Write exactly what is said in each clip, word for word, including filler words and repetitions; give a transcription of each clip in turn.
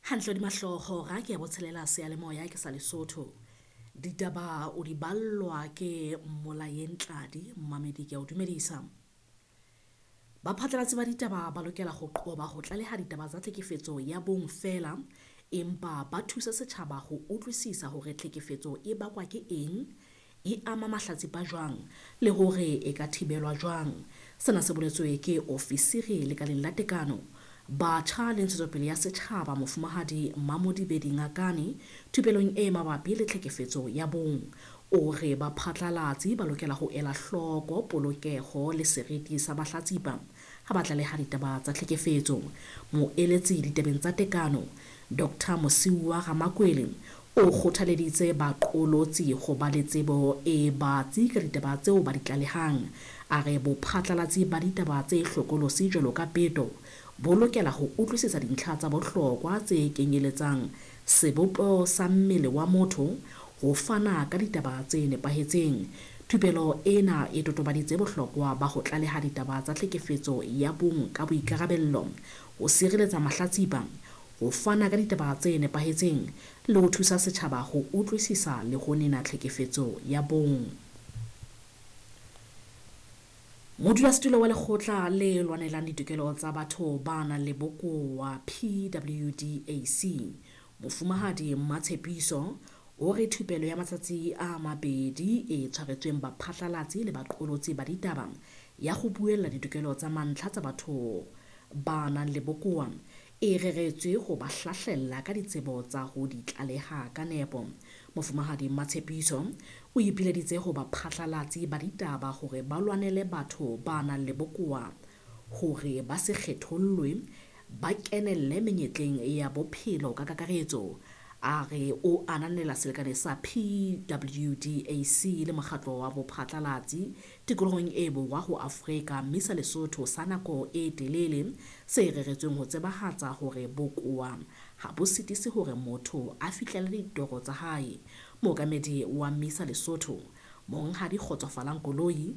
Hantle di mahloho ra ke ya botshelela seyalemoya ke sa Lesotho. Ditaba o di ballwa ke Mmolayeng Tladi, mmamedi ke a o dumedisa. Baphatlalatsi ba ditaba ba lokela ho qoba ho tlaleha ditaba tsa tlhekefetso ya bong feela, empa ba thuse setjhaba ho utlwisisa hore tlhekefetso e bakwa ke eng, e ama mahlatsipa jwang le hore e ka thibelwa jwang. Sena se boletswe ke ofisiri lekaleng la tekano, batjha le ntshetsopele ya setjhaba Mofumahadi Mamodibedi Ngakane thupelong e mabapi le tlhekefetso ya bong. O re baphatlalatsi ba lokela ho ela hloko polokeho le seriti sa mahlatsipa ha ba tlaleha ditaba tsa tlhekefetso. Moeletsi ditabeng tsa tekano Doctor Mosiuwa Ramakwele o kgothaleditse baqolotsi ho ba le tsebo e batsi ka ditaba tseo ba di tlalehang. A re bophatlalatsi ba ditaba tse hlokolosi jwalo ka peto bo lokela ho utlwisisa dintlha tsa bohlokwa tse kenyeletsang sebopeho sa mmele wa motho ho fana ka ditaba tse nepahetseng. Thupelo ena e totobaditse bohlokwa ba ho tlaleha ditaba tsa tlhekefetso ya bong ka boikarabello, ho sireletsa mahlatsipa, ho fana ka ditaba tse nepahetseng le ho thusa setjhaba ho utlwisisa le ho nena tlhekefetso ya bong. Modulasetulo wa lekgotla le lwanelang ditokelo tsa batho ba nang le bokowa P W D A C, Mofumahadi Mmatshepiso, o re thupelo ya matsatsi a mabedi e tshwaretsweng baphatlalatsi le baqolotsi ba ditaba ya ho buella ditokelo tsa mantlha tsa batho ba nang le bokowa e reretswe ho ba hlahlella ka ditsebo tsa ho di tlaleha ka nepo. Mofumahadi Mmatshepiso o ipileditse ho baphatlalatsi ba ditaba hore ba lwanele batho ba nang le bokowa hore ba se kgethollwe, ba kenelle menyetleng ya bophelo ka kakaretso. A re o ananela selekane sa P W D A C le mokgatlo wa bophatlalatsi tikolohong e borwa ho Afrika mme sa Lesotho sa nako e telele se reretsweng ho tsebahatsa hore bokowa ha bo sitise hore motho a fihlelle ditoro tsa hae. Mookamedi wa MISA Lesotho, Monghadi Kgotsofalang Koloi,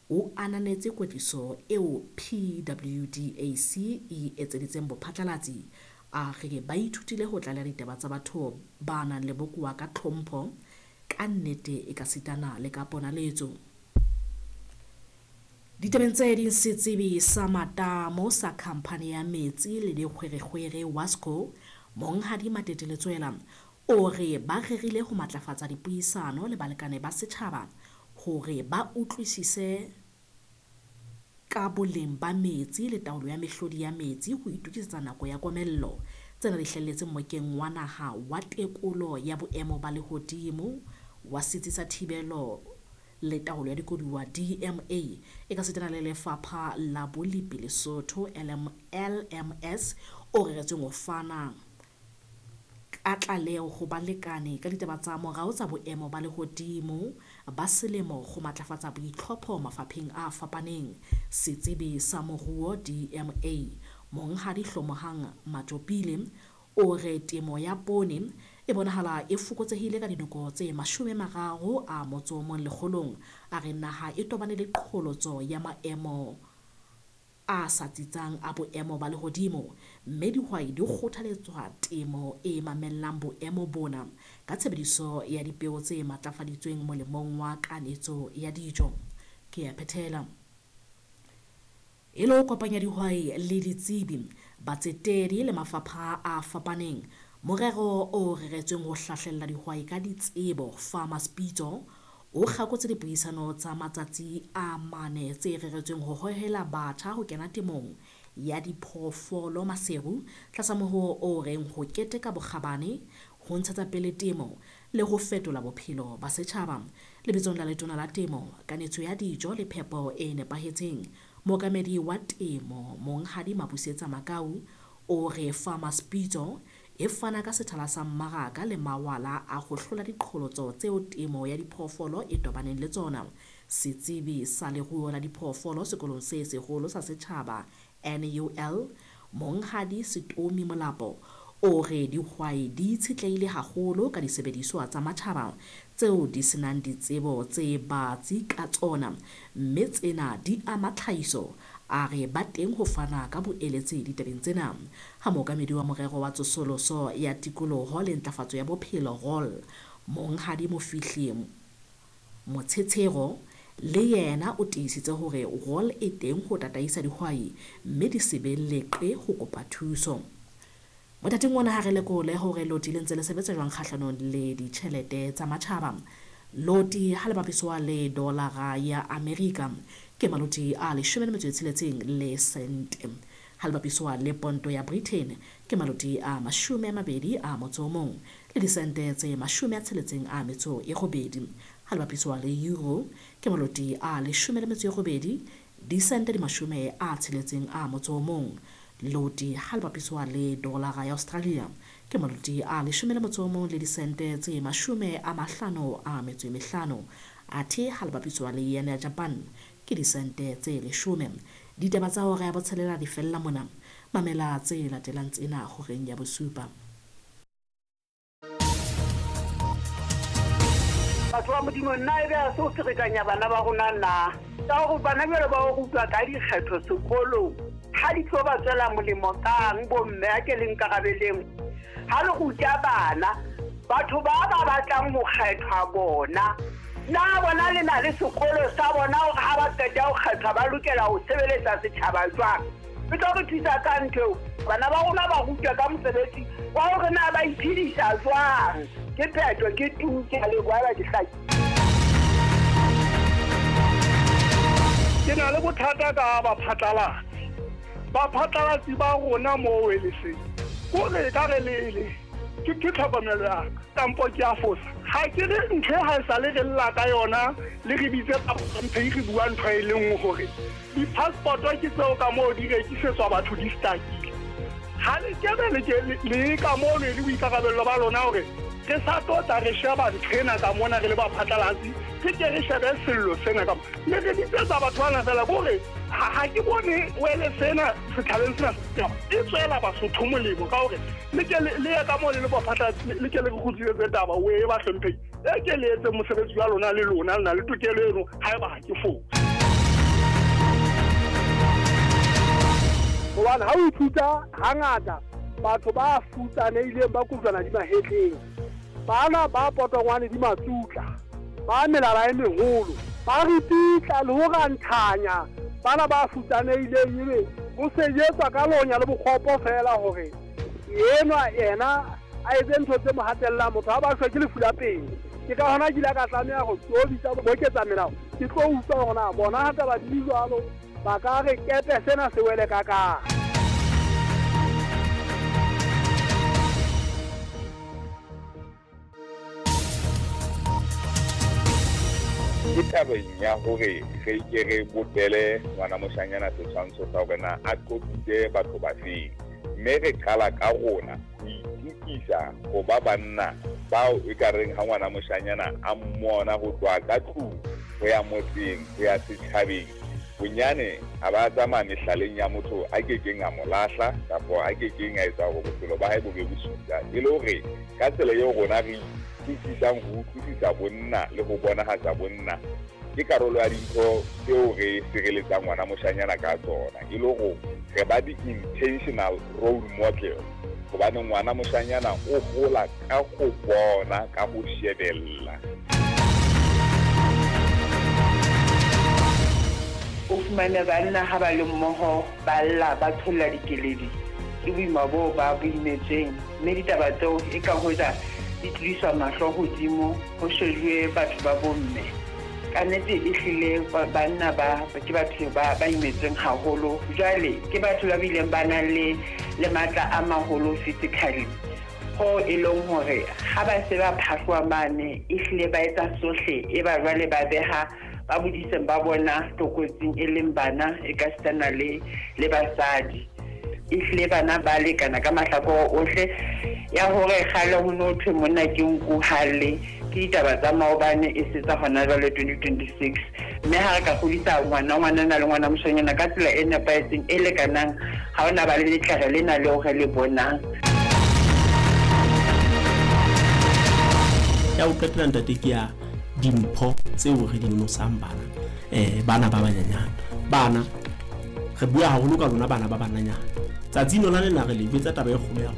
o ananetse kwetliso eo P W D A C e etseditseng bophatlalatsi. A re ba ithutile ho tlaleha ditaba tsa batho ba nang le bokowa ka tlhompho, ka nnete e ka sitana le ka ponaletso. Ditabeng tse ding, setsebi sa matamo sa khamphani ya metsi le dikgwerekgwere Wasco, Monghadi Matete Letsoela, o re ba rerile ho matlafatsa dipuisano le balekane ba setjhaba hore ba utlwisise ka boleng ba metsi le taolo ya mehlodi ya metsi ho itokisetsa nako ya komello. Tsena di hlahelletse mmokeng wa naha wa tekolo ya boemo ba lehodimo wa setsi sa thibelo le taolo ya dikoduwa D M A e ka sitana le lefapha la bolepi Lesotho L M S o reretsweng ho fana ka tlaleho ho balekane ka ditaba tsa morao tsa boemo ba lehodimo ba selemo ho matlafatsa boitlhopho mafapheng a fapaneng. Setsebi sa moruo D M A Monghadi Hlomohang Matjopile o re temo ya poone e bonahala e fokotsehile ka dinoko tse mashome mararo a motso o mong lekgolong. A re naha e tobane le qholotso ya maemo a sa tsitsang a boemo ba lehodimo, mme dihwai di kgothaletswa temo e mamellang boemo bona ka tshebediso ya dipeo tse matlafaditsweng molemong wa kanetso ya dijo. Ke a phethela. E le ho kopanya dihwai le ditsebi, batsetedi le mafapha a fapaneng, morero o reretsweng ho hlahlella dihwai ka ditsebo Farmers Pitso o kgakotse dipuisano tsa matsatsi a mane tse reretsweng ho hohela batjha ho kena temong ya diphoofolo Maseru tlasa mohoo o reng ho keteka bokgabane, ho ntshetsa pele temo le ho fetola bophelo ba setjhaba. Lebitsong la Letona la Temo, Kanetso ya Dijo le Phepo e Nepahetseng, mookamedi wa temo Monghadi Mabusetsa Makau o re Farmers Pitso e fana ka sethala sa mmaraka le mawala a ho hlola diqholotso tseo temo ya diphoofolo e tobaneng le tsona. Setsebi sa leruo la diphoofolo sekolong se seholo sa setjhaba N U L, Monghadi Setomi Molapo, o re dihwai di itshetlehile haholo ka disebediswa tsa matjhaba tseo di senang ditsebo tse batsi ka tsona, mme tsena di ama tlhahiso. A re ba teng ho fana ka boeletsi ditabeng tsena. Ha mookamedi wa morero wa tsosoloso ya tikoloho le ntlafatso ya bophelo R O L, Monghadi Mofihli Motshetshero, le yena o tiisitse hore R O L e teng ho tataisa dihwai mme di se be leqe ho kopa thuso. Mothating ona ha re lekole hore loti le ntse le sebetsa jwang kgahlanong le ditjhelete tsa matjhaba. Loti ha le bapiswa le dolara ya Amerika ke maloti a leshome le metso e tsheletseng le sente. Ha le bapiswa le ponto ya Britain ke maloti a mashome a mabedi a motso o mong le disente tse mashome a tsheletseng a metso e robedi. Ha le bapiswa le euro ke maloti a leshome le metso e robedi disente di mashome a tsheletseng a motso o mong. Loti ha le bapiswa le dolara ya Australia ke maloti a leshome le motso o mong le disente tse mashome a mahlano a metso e mehlano. Athe ha le bapiswa le yen ya Japan ke disente tse leshome. Ditaba tsa hora ya botshelela di fella mona. Mamela tse latelang tsena horeng ya bosupa. Batho ba Modimo, nna ebe a se o ferekanya bana ba rona na? Ka hore bana jwale ba o rutwa ka dikgetho sekolong, ha di tlo ba tswela molemo kang bomme? A ke le nkarabeleng. Ha le ruta bana, batho ba ba batlang ho kgethwa bona, na bona le na le sekolo sa bona hore ha ba qeta ho kgethwa ba lokela ho sebeletsa setjhaba jwang? E tlo re thusa ka ntho eo. Bana ba rona ba rutwa ka mosebetsi wa hore na ba iphedisa jwang. Ke phetho, ke tu, ke a leboha ba ke hlaki. Ke na le bothata ka baphatlalatsi. Baphatlalatsi ba rona mo W L C kore ka re lele ke ke tlhokomelo ya ka kampo ke a fosa? Ha ke re ntho e ha e sale re lla ka yona, le re bitse mphe re bua ntho e le nngwe hore di-passport ke tseo ka moo di rekisetswa batho di stakile. Ha le kebe le ke le ka moo le le boikarabello ba lona hore re sa tlo tla re sheba ntho ena ka mona re le baphatlalatsi, re ke re shebe sello sena ka mo le re bitsetsa batho bana fela kore ha ha ke bone wele sena setjhabeng sena setjhaba e tswela Basotho molemo ka hore le ke le le ye ka moo le le baphatlalatsi, le ke le re kgutlisetse taba o e bahlomphehi e ke le etse mosebetsi wa lona. Le lona le na le tokelo eno haeba ha ke fose. Hobane ha o ithuta hangata batho ba futsanehileng ba kojwana di mahetleng, bana ba potongwane di matsutla, ba melala e meholo, ba ripitla le ho ranthanya bana ba futsanehileng, ebe ho sejetswa ka lonya le bokgopo fela hore enwa ena a etse ntho tse mo hatellang. Motho ha ba shwe ke lefu la pele. Ke ka hona ke ile ka tlameha ho tlo bitsa boketsa melao, ke tlo utlwa hore na bona ha taba di jwalo ba ka re kepe sena se wele ka kang. Ke tabeng ya hore re ke re bopele ngwana moshanyana setshwantsho sa hore na a qotsitse batho ba feng, mme re qala ka rona ho itukisa ho ba banna bao e ka reng ha ngwana moshanyana a mmona ho tloha ka tlung ho ya motseng ho ya setjhabeng, bonyane a ba tsamaya mehlaleng ya motho a kekeng a mo lahla kapa a kekeng a etsa hore bophelo ba hae bo be bosula, e le hore ka tsela eo rona re utlwisisang ho utlwisisa bonna le ho bonahatsa bonna ke karolo ya dintho tseo re sireletsang ngwana moshanyana ka tsona, e le hore re ba di-intentional role model, hobane ngwana moshanyana o hola ka ho bona, ka ho shebella. O fumane banna ha ba le mmoho ba lla, ba tholla dikeledi ke boima boo ba bo imetsweng, mme ditaba tseo e ka hoja di tlodiswa mahlo hodimo ho shejuwe batho ba bomme. Ka nnete ehlile banna ba ke batho ba ba imetsweng haholo. Jwale ke batho ba bileng ba nang le le matla a maholo physically, ho e leng hore ha ba se ba phahloha mane ehlile ba etsa sohle, e ba jwale ba beha ba bodiseng ba bona tlokotsing, e leng bana e ka sitana le le basadi. Ehlile bana ba lekana ka mahlakore ohle. Ya hore kgale ho no thwe monna ke nku halle ke ditaba tsa maobane, e se tsa hona jwale twenty twenty-six. Mme ha re ka hodisa ngwana ngwanana le ngwana moshanyana ka tsela e nepahetseng e lekanang, ha hona ba le letlere lena leo re le bonang. Ya ho qetela, ntate, ke ya dimpho tseo re di nosang bana, eh bana ba banyenyane. Bana Re bua haholo ka lona bana ba bananyana. Tsatsing lona lena re le jwetsa taba e kgolo ya rona.